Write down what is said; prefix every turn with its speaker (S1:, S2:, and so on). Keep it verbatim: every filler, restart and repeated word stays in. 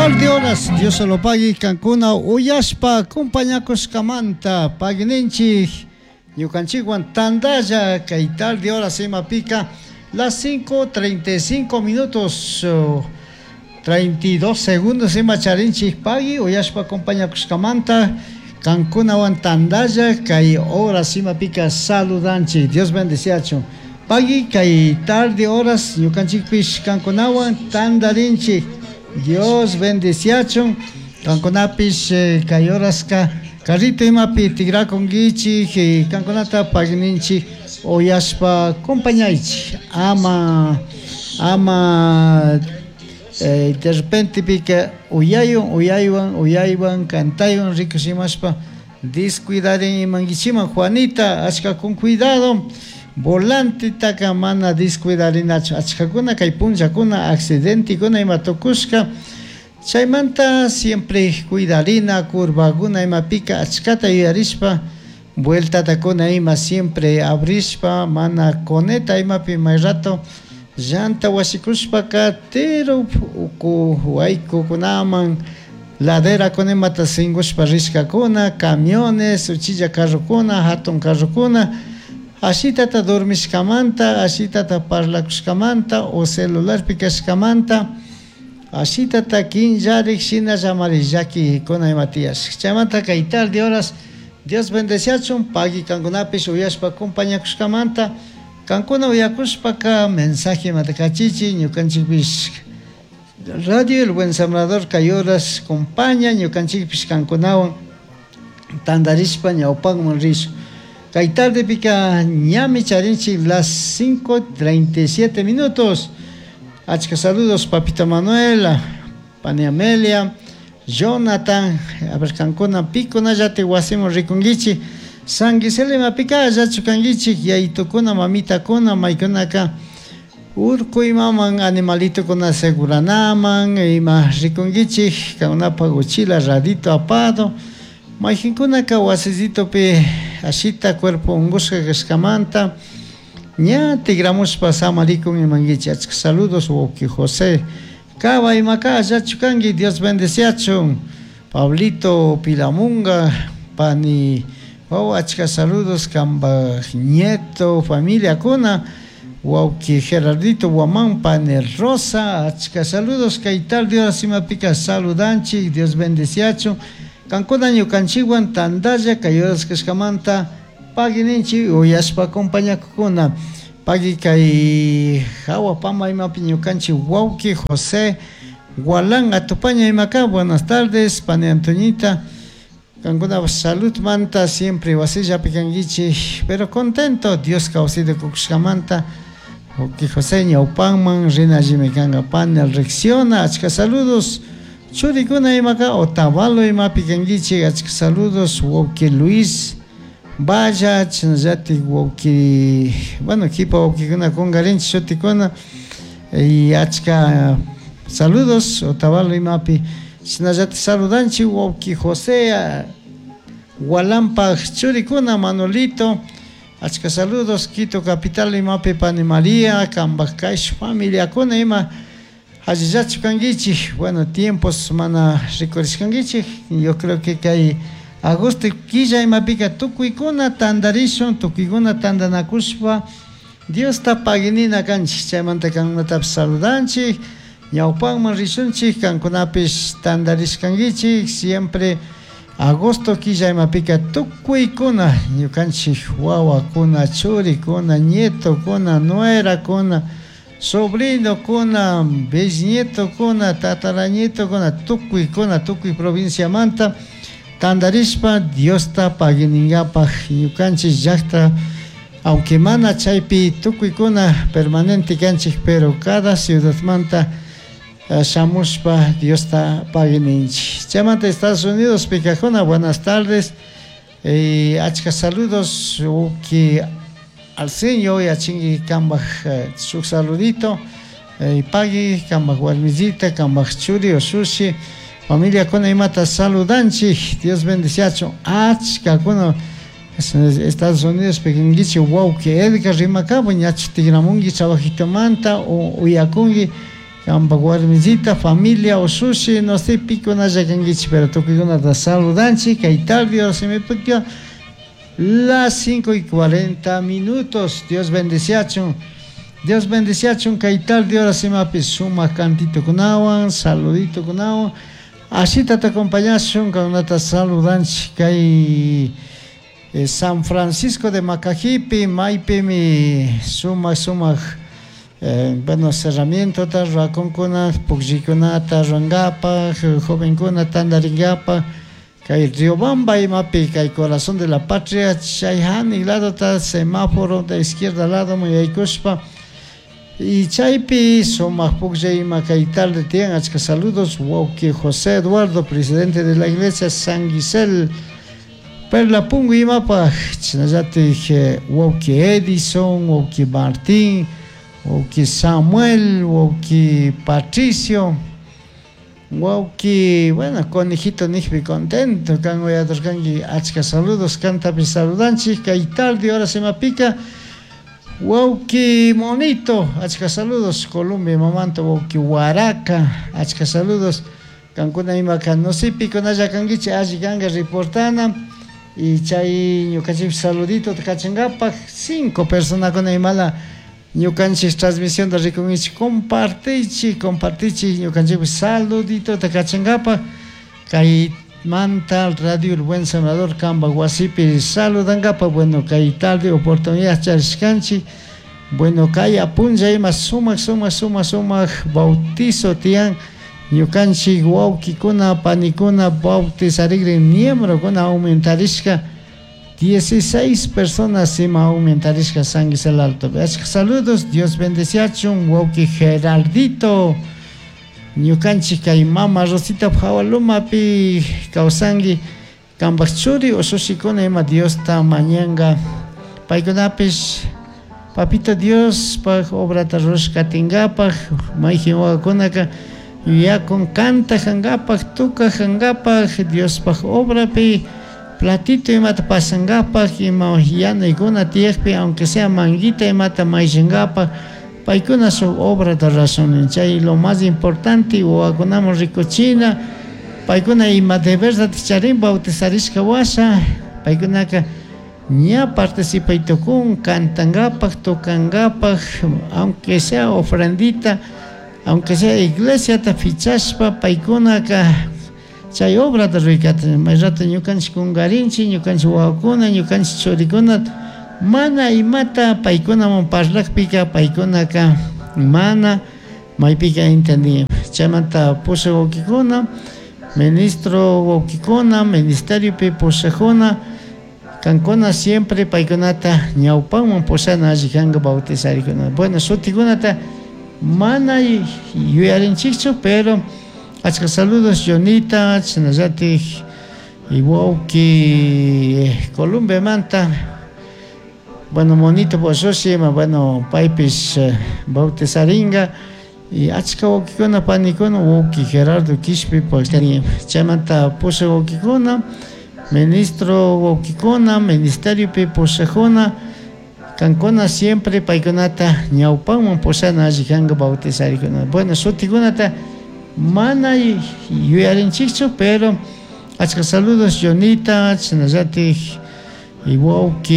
S1: Tarde horas, Dios se lo pague, kankuna uyashpa acompañakushkamanta paguininchik ñukanchikwan tandalla kay tarde horas imapika las cinco treinta y cinco minutos oh, treinta y dos segundos ima charinchik pagui uyashpa acompañakushkamanta kankunawan tandalla kay horas imapika saludanchik. Dios bendeciachun. Pagui kay tarde horas ñukanchikpish kankunawan tandarinchik. Dios bendeciachun. Kankunapish eh, kay horaska carrito imapi tigrakunkichik eh, kankunata paguininchik uyashpa acompañaychik. Ama ama eh, de repente pika uyaywan uyaywan uyaywan cantaywan rikushimashpa descuidarin imankichiman. Juanita, achka con cuidado volante taka mana descuidarinachu. Achkakuna kay punllakuna accidentekuna ima tukushka chaymanta siempre cuidarina curvakuna imapika achkata yuyarishpa vueltatakuna ima siempre abrishpa mana coneta imapi may rato llanta wasikushpaka tero uku waykukunaman ladera imata singushpa rishkakuna camiones uchilla carrokuna hatun carrokuna ashitata dormishkamanta ashitata parlakushkamanta o celularpi kashkamanta ashitata kinllarik shinallamari llakikuna ima tiyashka. Chaymanta kay tarde horas Dios bendeciachun pagui kankunapish uyashpa acompañakushkamanta kankuna uyakushpaka mensaje imata kachichi ñukanchikpish Radio El Buen Sembrador kay horas compaña ñukanchikpish kankunawan tandarishpa ñawpanman rishun. Kay tarde pika ñami charinchik las cinco treinta y siete minutos. Achka saludos Papito Manuel, Pani Amelia, Jonathan, a ver kankuna pikunallati wasiman rikunkichik. San Gisele mapika allachu kankichik yaytukuna mamitakuna maykunaka urku imaman animalitukuna seguranaman ima rikunkichik kankunapaq uchila radito apado mayqinkunaka wasisitupi ashita cuerpo unqushqa kashkamanta ña tigramushpa samarikun imankichik. Achka saludos wawqi José Caba imaka allachu kanki. Dios bendeciachun. Pablito Pilamunga pani wawa achka saludos kanpaj nieto familiakuna wawqi Gerardito Guamán pani Rosa achka saludos kay tarde horas imapika saludanchik. Dios bendeciachun. Kankuna ñukanchikwan tandalla kay horas kashkamanta paguininchik uyashpa acompañakukuna. Pagui kay hawa pama imapi ñukanchik wawqi José Gualán Atupaña imaka. Buenas tardes pani Antoñita, kankuna salud manta siempre wasillapi kankichik pero contento Dios kawsayta kukushkamanta. Wawqi José ñawpanman rinallimi kanka pani Rexiona achka saludos churikuna imaka Otavalo imapi kankichik achka saludos wawqi Luis Vaya chinallatik wawqi bueno kipa wawqikuna kunkarinchik shutikuna y achka saludos Otavalo imapi chinallatik saludanchik wawqi José Gualampaj churikuna Manolito achka saludos Quito capital imapi pani María kanpaj kaysh familiakuna ima allillachu kankichik. Bueno, tiempos mana rikurishkankichik. Yo creo que kay agosto killa imapika tukuykuna tandarishun tukuykuna tandanakushpa Diosta paguinina kanchik. Chaymanta kankunatapish saludanchik ñawpanman rishunchik kankunapish tandarishkankichik siempre agosto killa imapika tukuykuna ñukanchik wawakuna churikuna nietokuna nuerakuna sobrinokuna bisnietokuna tatarañetokuna tukuykuna tukuy provinciamanta tandarishpa Diosta paguiningapaj ñukanchik llaqta aunque mana chaypi tukuykuna permanente kanchik pero cada ciudadmanta uh, shamushpa Diosta paguininchik. Chaymanta Estados Unidos pikakuna buenas tardes eh, achka saludos uki Arsenio yachinki kanpaj eh, shuk saludito eh, pagui kanpaj warmisita kanpaj churi ushushi familiakuna imata saludanchik. Dios bendeciachun achkakuna Estados Unidos pikinkichik wawqi Edgar rimakapu ñachu tigramunki trabajitomanta o uyakunki Kambak warmisita, familia usushi, no sé pikunalla kankichik, pero tukuykunata saludanchik, kay tarde imapika las cinco y cuarenta minutos. Dios bendeciachun. Dios bendeciachun kay tarde horas imapi sumak cantitokunawan, saluditokunawan. Así te acompañashun, kankunata saludanchik kay eh, San Francisco de Macajipi, maypimi sumak sumak eh, bueno, cerramientota ruwakunkuna, pukllaykunata ruwankapak, jovenkuna tantarinkapak, kay Riobamba imapi, kay Corazón de la Patria, chay hanik ladota semáforo de izquierda lado yaykushpa, y chaypi sumak pukllay ima kay tarde tiyan. Achka saludos, wawki José Eduardo, presidente de la iglesia San Gisel, Perla Pungo imapaj, chashnallatik wawki Edison, wawki Martín, wawki Samuel, wawki Patricio, wawki, bueno, conejito nijpi contento, kan uyadurkanki, achka saludos, kantapi saludanchik, kay tarde horas imapika, wawki Monito, achka saludos, Colombia mamanta, wawki Huaraca, achka saludos, kankuna imaka, no sé, pikunalla kankichik, alli kanka reportana, y chay ñukanchik saludito kachankapak, cinco personakuna imala, ñukanchik transmisión de rikunkichik, compartichik, compartichik, ñukanchik saludito kachankapak, kay manta Radio El Buen Sembrador kamba wasipi saludankapak, bueno, kay tarde oportunidad charishkanchik, bueno, kay apunlla ima sumak, sumak, sumak, sumak bautizo tiyan, ñukanchik wawkikuna, panikuna bautizarikrin miembrokuna aumentarishka, dieciséis personas ima aumentarishka San Gisel Alto. Achka saludos, Dios bendeciachun, wawki Gerardito, ñukanchik kay mama Rosita Jawalumapi kawsanki, kampak churi usushikuna ima Diosta mañanka, paykunapish papito Dios pak obrata rurashkatinkapak, mayjin wawakunaka yuyakun kantajankapak, tukajankapak, Diospaj obrapi, platito imata pasankapak, ima yanaykuna tiyakpi, aunque sea manguita imata mayllankapak, paykuna shuk obrata rurashun, chay lo más importante wawakunaman rikuchina, paykuna ima deberta charin bautizarishka washa, paykunaka ña participay tukun, kantankapak, tukankapak, aunque sea ofrendita, aunque sea iglesiata fichashpa, paykunaka chay obrata ruraykata, may rato ñukanchik kunkarinchik, ñukanchik wawakuna, ñukanchik churikuna, mana imata paykunaman parlakpika, paykunaka mana maypika entendían. Chaymanta pushak wawkikuna, ministro wawkikuna, ministeriopi pushakuna, kankuna siempre paykunata ñawpanman pushana alli kanka bautizarikuna. Bueno, shutikunata mana yuyarinchikchu, pero achka saludos Jonita, chashnallatik wawki Columbiamanta, bueno, monito poshoshi, ima, bueno, paypish bautizaringa, y achka wawkikuna, panikuna, wawki Gerardo Quishpi, chaymanta pushak wawkikuna, ministro wawkikuna, ministeriopi pushakuna, kankuna siempre paykunata ñawpanman pushana alli kanka bautizarikuna. Bueno, shutikunata mana yuyarinchikchu, pero achka saludos Jonita, chashnallatik wawki